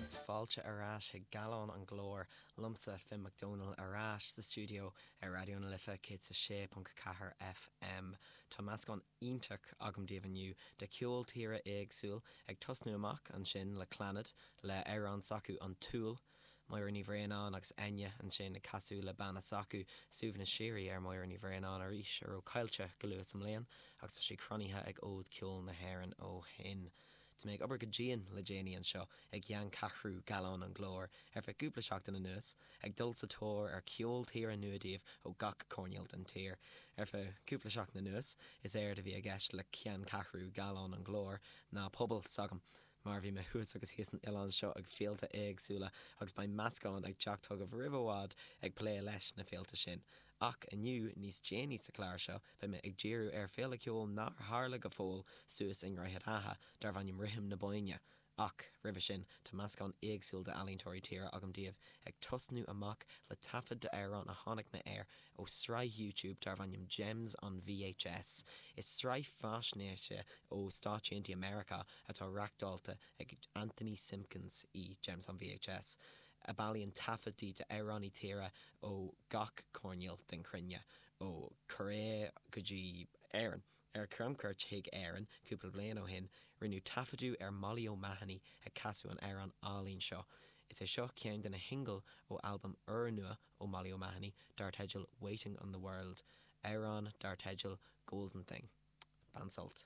Agus fáilte ar ais chuig Gallán an Ghlóir, liomsa, Finn Mac Dónaill, ar ais sa stiúideo ar Raidió na Life 106.4 FM. Tá meascán iontach agam daoibh inniu de cheol tíre éagsúil, ag tosnú amach ansin le Clannad, le amhrán s'acu An tSúil, Máire Ní Bhraonáin agus Enya ansin ag casadh le banna s'acu, Suaimhneas Síoraí ar Mháire Ní Bhraonáin arís, a raibh caillte go luath sa mbliain agus tá sí cronaithe ag Fhód Ceoil na hÉireann ó shin. Tá mé ag obair go dian le déanaí anseo i gceanncheathrú Gallán an Ghlóir ar feadh cúpla seachtain anuas, ag dul sa tóir ar cheol tíre nua daoibh ó gach coirnéal den tír. Ar feadh cúpla seachtain anuas, is éard a bhí i gceist le ceanncheathrú Gallán an Ghlóir ná puball s'agam, mar bhí mé thuas agus thíos san oileán seo ag féilte éagsúla agus beidh meascán ag teacht chugaibh roimh i bhfad ag plé leis na féilte sin. Ach inniu, níos déanaí sa chlár seo, beidh mé ag díriú ar féile ceoil nár tharla go fóill suas i nDroichead Átha, darbh ainm Rithim na Bóinne. Ach, roimhe sin, tá meascán éagsúil d'ealaíontóirí tíre agam daoibh, ag tosnú amach le taifead d'amhrán a tháinig mé air ó sraith YouTube darbh ainm Gems on VHS. Is sraith faisnéise ó Stáit Aontaithe Meiriceá atá reachtáilte ag Anthony Simpkins í Gems on VHS, a bailíonn taifeadtaí d'amhránaí tíre ó gach coirnéal den chruinne, ó Korea go dtí Éirinn. Ar camchuairt chuig Éirinn cúpla bliain ó shin, rinneadh taifeadadh ar Molly O'Mahony ag casadh an amhráin álainn seo. Is é seo ceann de na shingil ó albam úrnua ó Molly O'Mahony dar teideal Waiting on the World, amhrán dar teideal Golden Thing. Bain sult.